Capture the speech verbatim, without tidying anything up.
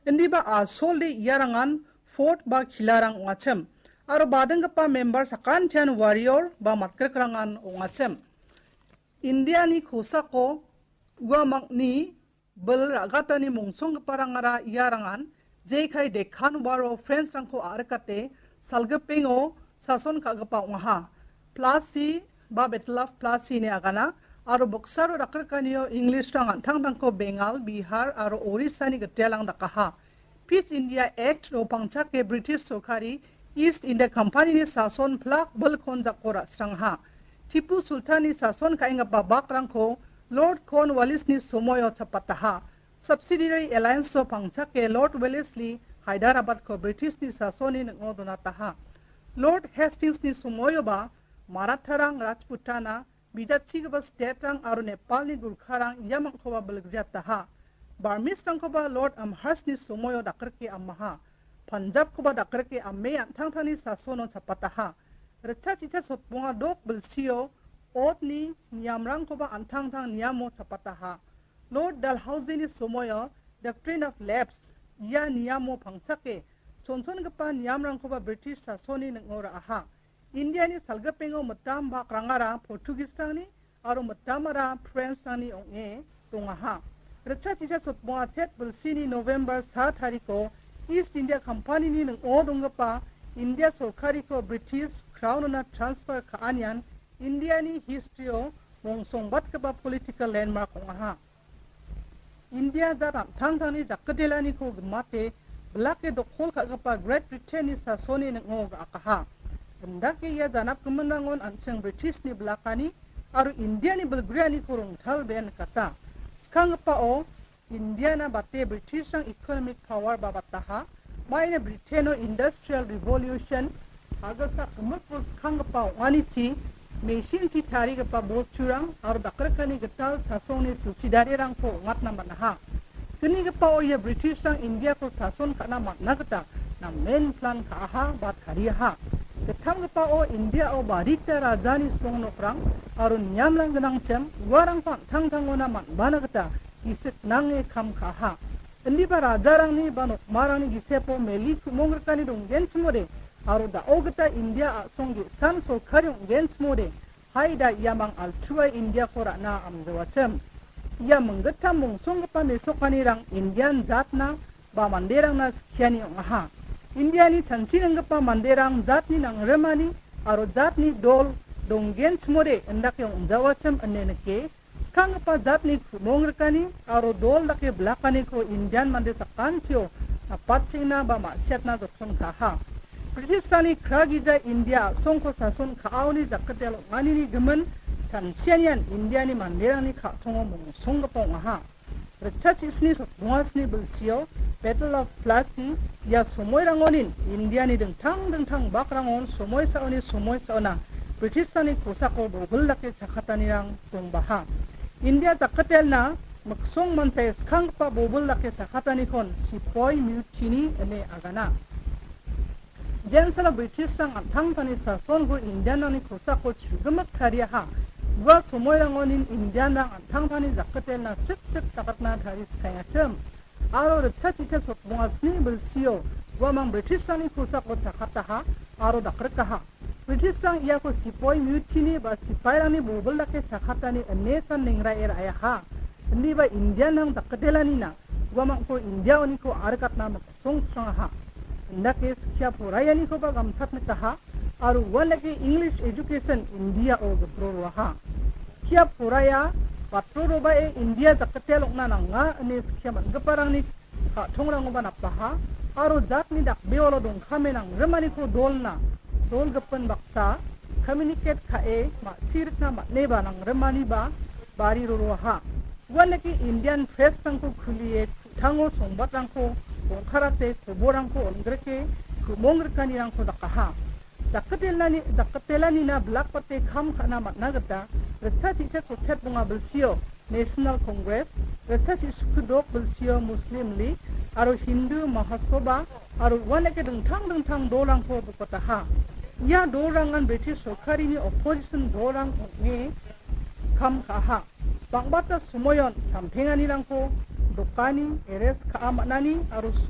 Indiba asolde iarangan fort ba kilarang ong·achim. Aro badinggipa member sakantian warrior ba matgrikrangan ong·achim. Indiani kosako uamangni bil ra·gatani mongsonggiparangara iarangan jekai Deccan War-o French-rangko a·rikate salgipengo sason ka·gipa ong·aha. Plassey ba Battle of Plassey ine agana aro boksaro dakrikanio English-rang an·tangtangko Bengal, Bihar aro Orissa-ni gitelang dakaha. Peace India Act-o pangchake British sorkari East India Company-ni sason plak bilkon jako ra·srangaha. Tipu Sultan-ni sason ka·enggipa bakrangko Lord Cornwallis-ni somoio chapataha. Subsidiary Alliance-o pangchake Lord Wellesley Hyderabad-ko British-ni sasonni ning·o donataha. Lord Hastings-ni somoioba Maratharang Rajputana, bijachigipa state-rang aro Nepalni Gurkharang iamangkoba bilgriataha. Burmese-rangkoba Lord Amherst-ni somoio dakrike amaha. Punjab-koba dakrike ame an·tangtangni sasono chapataha. Ritchasicha sotbonga dok bilsio otni niamrangkoba an·tangtang niamo chapataha. Lord Dalhousie-ni somoio Doctrine of Lapse ia niamo pangchake chonchongipa niamrangkoba British sasonni ning·o ra·aha. Indiani salgipengo mitam bakrangara Portuguese-rangni aro mitamara French-rangni ong·e dongaha. Ritchasicha sotbonga chet bilsini November sa tariko East India Company-ni ning·o donggipa India sorkariko British Crown-ona transfer ka·anian Indiani history-o mongsongbatgipa political landmark ong·aha. India jat an·tangtangni jakketelaniko gimate bilake dokkol ka·gipa Great Britain-ni sasonni ning·o ga·akaha. Indake ia janapgiminrangon an·ching British-ni bilakani aro Indiani bilgrianiko rongtalbea nikata. Skanggipao Indiana bate British-rang economic power ba bataha. Maina Britain-o Industrial Revolution, agilsak gimikbo skanggipa ong·anichi, machine-chi tarigipa bosturang aro dakrikani gital chasongni silchidarirangko ong·atna man·aha. Gnigipao ia British-rang India-ko sason ka·na man·na gita namen plan ka·aha ba tariaha. Gittamgipao India-o barita rajani songnokrang aro niamrang gnangchim uarangko an·tangtangona man·bana gita gisik nange kam ka·aha. Indiba rajarangni ba nokmarangni gisepo meli ku·mongrikani donggenchimode aro da·o gita India a·song ge·san sorkari ong·genchimode, hai da iamang altuae India-ko ra·na amjawachim. Ia minggittam mongsonggipa mesokanirang Indian jatna ba manderangna skiani ong·aha. Indiani chanchi nenggipa manderang jatni nangrimani aro jatni dol donggenchimode indake ong·jawachim ine nike, skanggipa jatni ku·mongrikani aro dol dake blakaniko Indian mande sakantio napatchengna ba ma·siatna joksongkaha. British-rangni kragija India a·songko sason ka·aoni jakkitel ong·anini gimin chanchianian Indiani manderangni ka·tongo mongsonggipa ong·aha. Ritchasisni sotbongasni bilsio Battle of Plassey ia somoirangonin Indiani dingtang dingtang bakrangon somoisaoni somoisaona British-rangni kosako bobil dake chakatanirang dongbaha. India jakkitelna miksong mansae skanggipa bobil dake chakatanikon Sepoy Mutiny ine agana. Jensala British-rang an·tangtangni sasonko Indian-rangni kosako chugimik tariaha. Ua somoirangonin Indian-rang an·tangtangni jakkitelna sip sip dakatna tariskaiachim. Aro ritchasicha sotbonga sni bilsio uamang British-rangni kosako chakataha aro dakrikaha. British-rang iako Sepoy Mutiny ba sipairangni bobil dake chakatani ine san nengrai ra·aha. Indiba Indian-rang jakkitelanina uamangko India-oniko arikatna miksongstrangaha. Indake skia poraianikoba gamtatnikaha aro uandake English education India-o gipro roaha. Skia poraia batro robae India jakkitel ong·na nanga ine skia man·giparangni ka·tongrangoba napaha aro jatni dakbeolo dongkame nangrimaniko dolna, dolgipin baksa, communicate ka·e ma·sirikna man·eba nangrimaniba bari roroaha. Uandake Indian press-rangko kulie ku·tango songbatrangko bongkarate koborrangko on·grike ku·mongrikanirangko dakaha. Jakkitelnani-, jakkitelanina bilakbate kam ka·na man·a gita ritchasicha sotbonga bilsio National Congress, ritchasisku dok bilsio Muslim League aro Hindu Mahasabha aro uandake dingtang dingtang dolrangko bokataha. Ia dolrangan British sorkarini opposition dolrang ong·e kam ka·aha. Bang·bata somoion sampenganirangko dokani, arrest ka·a man·ani aro